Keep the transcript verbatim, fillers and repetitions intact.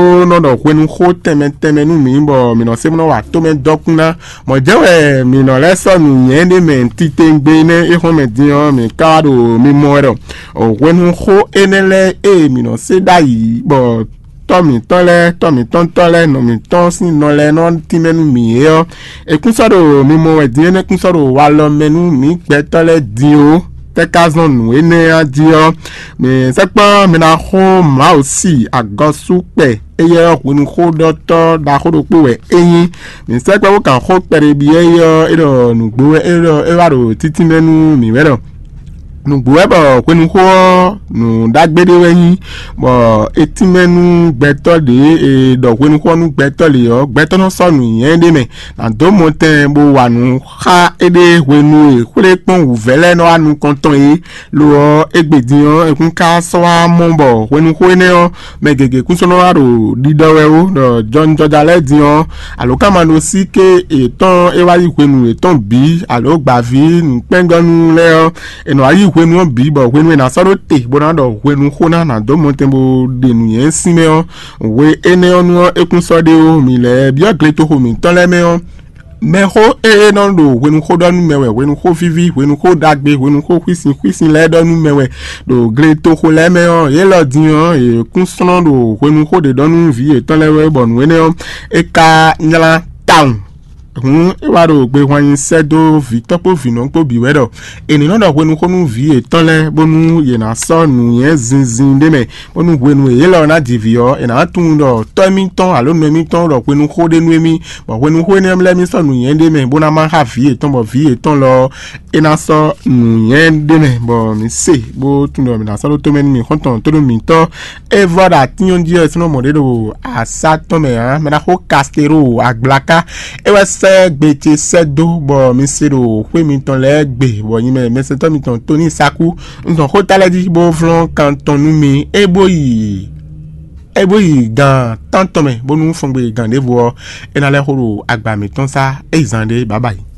Ó nɔ ɖɔ hwenuxó tɛnmɛ tɛnmɛ nú mǐ, bɔ mǐ nɔ se bó nɔ wa tomɛ dɔkun ná. Mɔ̌ jɛ́n wɛ mǐ nɔ lɛ́ sɔ́ nǔnywɛ́ ɖé mɛ titewungbe énɛ́ e xɔ́n mɛ din ɔ́, mǐ ka wá ɖo mimɔ wɛ ɖɔ hwenuxó énɛ́ lɛ́ɛ e mǐ nɔ se ɖ'ayǐ bɔ tɔ́ mǐtɔn lɛ́ɛ, tɔ́ mǐtɔn tɔ́ lɛ́ɛ, nɔ mǐtɔn sín nɔ lɛ́ɛ nɔ tínmɛ nú mǐ é ɔ́, è kún sɔ́ ɖo mimɔ wɛ din, énɛ́ kún sɔ́ ɖo walɔ mɛ nú mǐ gbɛtɔ́ lɛ́ɛ din ó. Tɛ́ ka zɔ́n nǔ énɛ́ ɔ́ jí ɔ́, mǐ sɛkpɔ́ mi ná xo Mawu si agɔsú kpɛ, éyɛ́ ɔ́ hwenuxóɖɔtɔ́ ɖaxó ɖokpó wɛ é nyí. Mǐ sɛkpɔ́ bó kan xó kpɛɖé byɔ́ é ɔ́, é ɖɔ nǔgbó wɛ é ɖɔ é wá ɖo títínmɛ nú mǐ wɛ ɖɔ nǔgbó wɛ bɔ hwenuxó ɔ́ nǔ ɖagbe ɖé wɛ nyí, bɔ é tínmɛ nú gbɛtɔ́ ɖě e ɖɔ hwenuxó ɔ́ nú gbɛtɔ́ lě ɔ́, gbɛtɔ́ nɔ sɔ́ nǔnywɛ́ ɖé mɛ, nǎ dó mɔtɛn bó wa nǔ xá éɖée hwenu e xwlé kpɔ́n wǔvɛ́ lɛ́ɛ nɔ wá nukɔn tɔn é. Lo ɔ́, égbé din ɔ́, è kún ka sɔ́ wá mɔ bɔ hwenuxó énɛ́ ɔ́, mɛ gěgé kún sɔ́ nɔ wá ɖo ɖiɖɔ wɛ ó, ɖɔ jɔnjɔja lɛ́ɛ din ɔ́, alǒkanmaɖósíké yětɔn e wá yí hwenu yětɔn bǐ, alǒ gbǎví nǔkpɛ́ngɔ́nú lɛ́ɛ ɔ́, è nɔ wá yí hwenu ɔ́ bǐ, bɔ hwenu e è nǎ sɔ́ ɖó te bó ná ɖɔ hwenuxó ná nǎ dó mɔtɛn bó ɖe nǔnywɛ́ sín mɛ ɔ́, hwe énɛ́ ɔ́ nu ɔ́, é kún sɔ́ ɖe ó. Mǐ lɛ́ byɔ́ gletoxo mǐtɔn lɛ́ɛ mɛ ɔ́, mɛxó e nɔ ɖo hwenuxó ɖɔ nú mɛ wɛ, hwenuxó víví, hwenuxó ɖagbe, hwenuxó xwísin xwísin lɛ́ɛ ɖɔ nú mɛ wɛ ɖo gletoxo lɛ́ɛ mɛ ɔ́, yě lɔ din ɔ́, yě kún slɔ́n ɖo hwenuxó ɖě ɖɔ nú vǐ yětɔn lɛ́ɛ wɛ, bɔ nǔ énɛ́ ɔ́, é ka nylá tawun. Hǔn é wá ɖo gbehwan nyi sɛ́ dó vǐtɔ́ kpó vǐnɔ kpó bǐ wɛ ɖɔ è ní nɔ ɖɔ hwenuxó nú vǐ yětɔn lɛ́ɛ, bónú yě ná sɔ́ nǔnywɛ́ zinzin ɖé mɛ, bónú hwenu e yě lɔ ná ji vǐ ɔ́, è nǎ tunwun ɖɔ tɔ́ émítɔn alo nɔ émítɔn ɖɔ hwenuxó ɖé nú émí, bɔ hwenuxó énɛ́ lɛ́ɛ mì sɔ́ nǔnywɛ́ ɖé mɛ bó ná má xá vǐ yětɔn, bɔ vǐ yětɔn lɔ ɔ́, é ná sɔ́ nǔnywɛ́ ɖé mɛ, bɔ mǐ se bó tunwun ɖɔ mǐ ná sɔ́ ɖó tomɛ nú mì xɔ́ntɔn tónú mǐtɔn. É vɔ ɖo atínyɔ́ jí ɔ́, è sɔ́ nɔ mɔ ɖě ɖo asá tɔn mɛ ǎ, mɛ ná xó Kastero agblaka. É wɛ sɛ́ gbe ce sɛ́ dó, bɔ mi se ɖo xwé mitɔn lɛ́ɛ gbe, bɔ nyi mɛ mɛsɛntɔ́ mitɔn Toni Saku. Un zɔn xó ta lɛ́ɛ jí bó flɔ́n kan tɔn nú mi, é bó yi é bó yi gan tántɔn mɛ, bónú fɔngbe gan ɖěvo ɔ́, é ná lɛ́ xó ɖo agba mǐtɔn sá. É yi zan ɖé, bǎbǎyi.